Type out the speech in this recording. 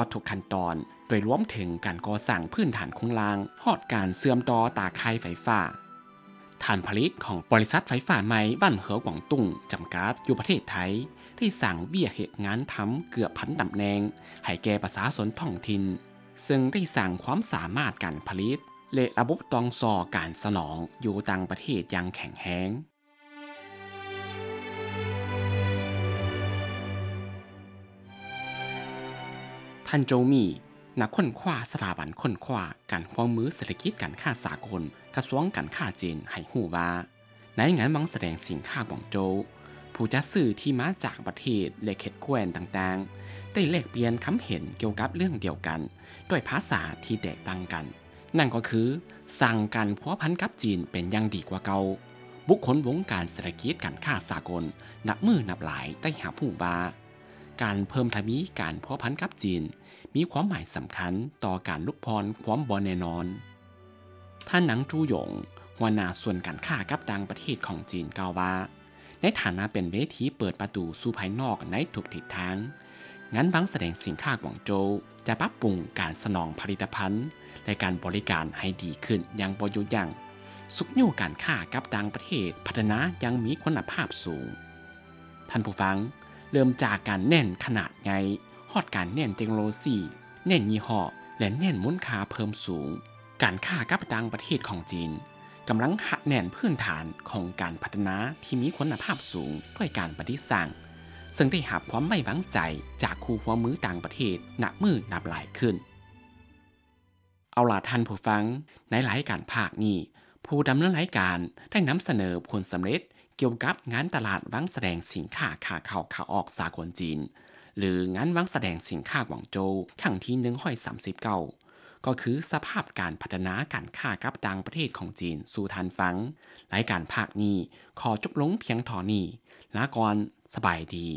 ອດທຸກຂັ້ນຕອນ, ໂດຍລວມເຖິງການກໍ່ສ້າງພື້ນຖານໂຄງລ່າງ, ຮອດການເຊື່ອມຕໍ່ຕາຂ່າຍໄຟຟ້າ. ຖານຜະລິດຂອງບໍລິສັດໄຟຟ້າໃໝ່ຫວັນເຫີກວາງຕຸ້ງຈຳກັດ ຢູ່ປະເທດໄທ ໄດ້ສ້າງວຽກເຮັດງານທຳເກືອບພັນຕຳແໜ່ງໃຫ້ແກ່ປະຊາຊົນທ້ອງຖິ່ນ, ເຊິ່ງໄດ້ສ້າງຄວາມສາມາດການຜະລິດ ແລະ ລະບົບຕ່ອງຕໍ່ການສະໜອງຢູ່ຕ່າງປະເທດຢ່າງແຂງແຮງ. ທ່ານ ໂຈວ ໝີ່ ນັກຄົ້ນຄວ້າສະຖາບັນຄົ້ນຄວ້າການຮ່ວມມືເສດຖະກິດການຄ້າສາກົນ ກະຊວງການຄ້າຈີນ ໃຫ້ຮູ້ວ່າ ໃນງານວັງສະແດງສິນຄ້າກວາງໂຈວ, ຜູ້ຈັດຊື້ທີ່ມາຈາກປະເທດ ແລະ ເຂດແຄວ້ນຕ່າງໆ ໄດ້ແລກປ່ຽນຄຳເຫັນກ່ຽວກັບເລື່ອງດຽວກັນ ດ້ວຍພາສາທີ່ແຕກຕ່າງກັນ, ນັ້ນກໍຄື ສ້າງການພົວພັນກັບຈີນເປັນຢ່າງດີກວ່າເກົ່າ. ບຸກຄົນວົງການເສດຖະກິດການຄ້າສາກົນນັບມື້ນັບຫຼາຍໄດ້ຮັບຮູ້ວ່າ ການເພີ່ມທະວີການພົວພັນກັບຈີນ ມີຄວາມໝາຍສຳຄັນຕໍ່ການຫຼຸດຜ່ອນຄວາມບໍ່ແນ່ນອນ. ທ່ານ ນາງ ຈູຢົງ ຫົວໜ້າສ່ວນການຄ້າກັບຕ່າງປະເທດຂອງຈີນ ກ່າວວ່າ ໃນຖານະເປັນເວທີເປີດປະຕູສູ່ພາຍນອກໃນທຸກທິດທາງ, ງານວັງສະແດງສິນຄ້າກວາງໂຈວຈະປັບປຸງການສະໜອງຜະລິດຕະພັນ ແລະ ການບໍລິການໃຫ້ດີຂຶ້ນຢ່າງບໍ່ຢຸດຢັ້ງ, ຊຸກຍູ້ການຄ້າກັບຕ່າງປະເທດພັດທະນາຢ່າງມີຄຸນນະພາບສູງ. ທ່ານຜູ້ຟັງ, ເລີ່ມຈາກການເນັ້ນຂະໜາດໃຫຍ່, ຮອດການເນັ້ນເຕັກໂນໂລຊີ, ເນັ້ນຍີ່ຫໍ້ ແລະ ເນັ້ນມູນຄ່າເພີ່ມສູງ, ການຄ້າກັບຕ່າງປະເທດຂອງຈີນ ກຳລັງຮັດແໜ້ນພື້ນຖານຂອງການພັດທະນາທີ່ມີຄຸນນະພາບສູງດ້ວຍການປະດິດສ້າງ, ເຊິ່ງໄດ້ຮັບຄວາມໄວ້ວາງໃຈຈາກຄູ່ຮ່ວມມືຕ່າງປະເທດນັບມື້ນັບຫຼາຍຂຶ້ນ. ເອົາລະທ່ານຜູ້ຟັງ, ໃນລາຍການພາກນີ້, ຜູ້ດຳເນີນລາຍການໄດ້ນຳສະເໜີຜົນສຳເລັດກ່ຽວກັບງານຕະຫຼາດວັງສະແດງສິນຄ້າຂາເຂົ້າຂາອອກສາກົນຈີນ ຫຼື ງານວັງສະແດງສິນຄ້າກວາງໂຈວຄັ້ງທີໜຶ່ງຮ້ອຍສາມສິບເກົ້າ ກໍຄືສະພາບການພັດທະນາການຄ້າກັບຕ່າງປະເທດຂອງຈີນສູ່ທ່ານຟັງ. ລາຍການພາກນີ້ຂໍຈົບລົງພຽງເທົ່ານີ້. ລາກ່ອນ, ສະບາຍດີ.